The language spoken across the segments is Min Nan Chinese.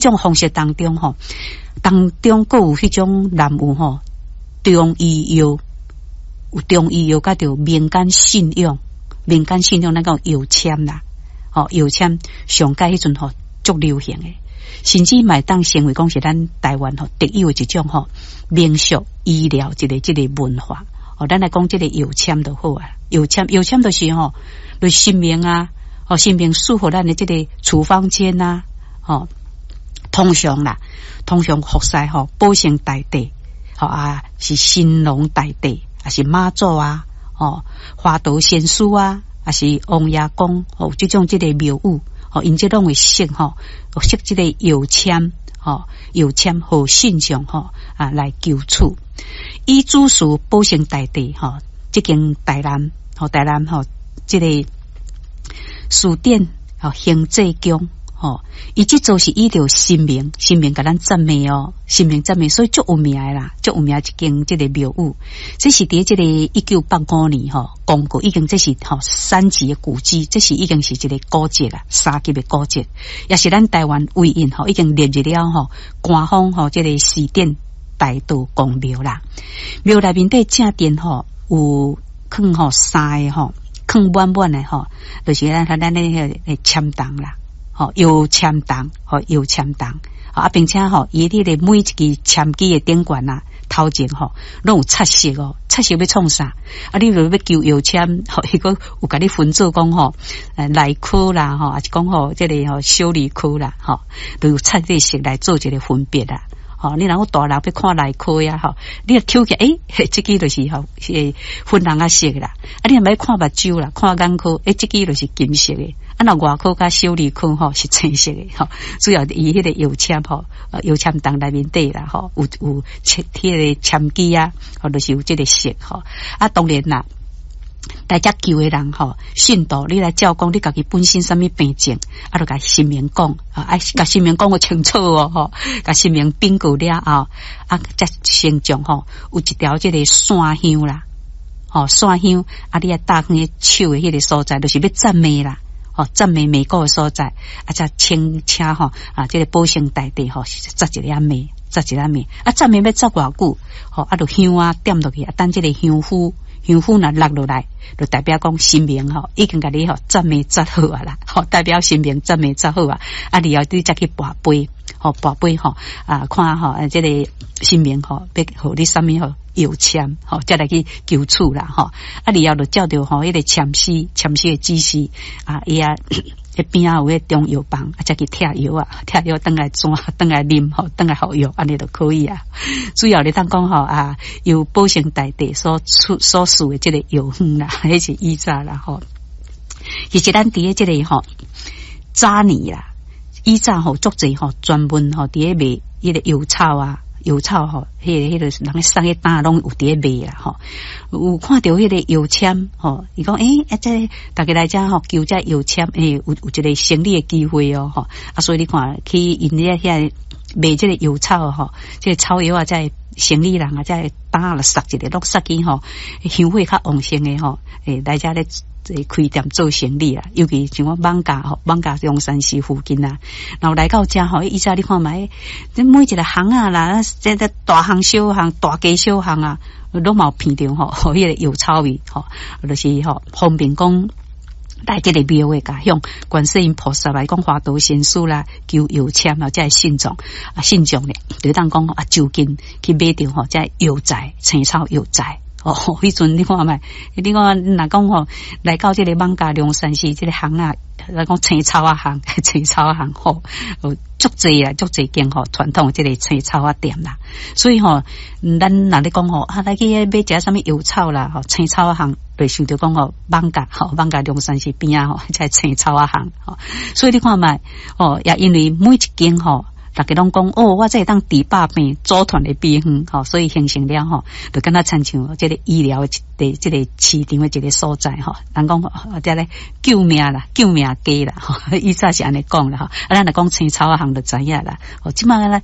種方式當中吼，當中閣有彼種南有吼中醫藥，有中醫藥佮著民間信仰，民間信仰咱講藥籤啦，吼藥籤上蓋彼陣吼足流行的，甚至嘛會當成為講是咱台灣吼特有的一種吼民俗醫療一個這个文化。哦，咱來講這个藥籤就好啊，藥籤藥籤就是吼，就是神明啊，吼神明賜予咱的這个處方箋啊，吼。通常啦，通常服侍吼保生大帝，吼啊是神農大帝，抑是媽祖啊，吼華佗仙師啊，抑是王爺公，吼這種這个廟宇，吼𪜶這攏會設吼，設這个藥籤，吼藥籤予信眾吼啊來求取。以主事保生大帝吼，這間台南吼台南吼這个寺殿吼興濟宮。吼，伊這座是依著神明，神明共咱讚美哦，神明讚美，所以足有名的啦，足有名一間這个廟宇。這是佇這个1985年吼，公告已經這是吼三級的古蹟，這是已經是一个古蹟啦，三級的古蹟，也是咱台灣唯一吼已經列入了吼官方吼這个祀典大道公廟啦。廟內面底正殿吼有囥吼三个吼囥滿滿的吼，就是咱咱的彼个籤筒啦。吼，藥籤筒，吼藥籤筒，啊，並且吼，伊彼个每一支籤支的頂懸啊，頭前吼，攏有插色哦，插色欲創啥？啊，你若欲求藥籤，吼，伊閣有共你分做講吼，內科啦，吼，抑是講吼，這个吼小兒科啦，吼，都有插這個色來做一个分別啦。吼，你若講大人欲看內科呀，吼，你若抽起來，欸，這支就是吼，是粉紅仔色啦。啊，你若欲看目睭啦，看眼科，欸，這支就是金色的。啊，若外科佮小兒科吼是青色的吼。主要伊彼个藥籤吼，藥籤筒內面底啦吼，有有貼彼个籤支啊，吼，就是有這个色吼。啊，當然啦。來遮求的人吼，信徒你來照講，你家己本身啥物病症，啊，就共神明講，啊，共神明講予清楚哦，吼，共神明稟告了後，啊，才先將吼有一條這个線香啦，吼線香，啊，你愛搭佇手的彼个所在，就是欲讚美啦，吼讚美美國的所在，啊，才請請吼啊，這个保生大帝吼，紮一粒糜，紮一粒糜，啊，紮糜欲紮偌久，吼，啊，就香仔點落去，啊，等這个香灰。香灰若落落來，就代表講神明吼已經共你吼讚美紮好啊啦，吼代表神明讚美紮好啊，啊，然後你才去跋杯，吼跋杯吼啊，看吼這个神明吼欲予你啥物吼藥籤吼，才來去求取啦吼，啊，然後就照著吼彼个籤詩，籤詩的指示啊，伊啊。彼邊仔有彼中藥房，啊，才去拆藥啊，拆藥轉來轉，轉來啉吼，轉來服藥，按呢就可以啊。主要你通講吼啊，由保生大帝所出所賜的這个藥方啦，彼是以早啦吼。其實咱佇咧這个吼早年啦，以早吼足濟吼專門吼佇咧賣彼个藥草啊。藥草吼，彼个彼个人咧送彼擔攏有佇咧賣啦吼。有看著彼个藥籤吼，伊講欸，啊這逐家來遮吼求這藥籤，欸，有有一个生理的機會哦吼。啊，所以你看去𪜶咧遐賣這个藥草吼，這个草藥啊，這个生理人啊，這个擔就捒一个，攏捒去吼，香火較旺盛的吼，欸，來遮咧開店做生理啦。尤其像我艋舺吼，艋舺龍山寺附近啊，然後來到遮吼，以前你看覓，這每一个巷仔啦，這個大巷小巷、大街小巷啊，攏嘛有聞著吼，彼个藥草味吼，就是吼方便講來這个廟的，共向觀世音菩薩來講華佗仙師啦，求藥籤啊，這个信眾啊，信眾咧，就當講啊，就近去買著吼，這个藥材、青草藥材。哦，彼陣你看覓，你看若講吼，來到這个艋舺龍山寺這个巷仔，來講青草仔巷，青草仔巷吼，有足濟啊，足濟間吼傳統這个青草仔店啦。所以吼，咱若咧講吼，啊來去買食啥物藥草啦，吼青草仔巷，就想著講吼艋舺吼艋舺龍山寺邊仔吼，這个青草仔巷吼。所以你看覓，哦，也因為每一間吼。逐家攏講哦，我這會當治百病，祖傳的秘方吼，所以形成了吼，就敢若親像這个醫療的這个市場的一个所在吼。人講這咧救命啦，救命雞啦，吼，以前是按呢講啦吼。啊，咱若講青草仔巷就知影啦。哦，這擺咧。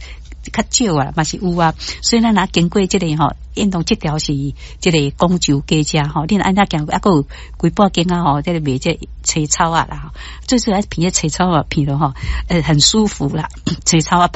較少啊，嘛是有啊。所以咱若經過這个吼，應當這條是這个廣州街遮吼，你若按怎行過，啊，閣有規半間啊吼，這个賣這个青草仔啦，最主要鼻這青草仔鼻囉吼，很舒服啦，青草仔。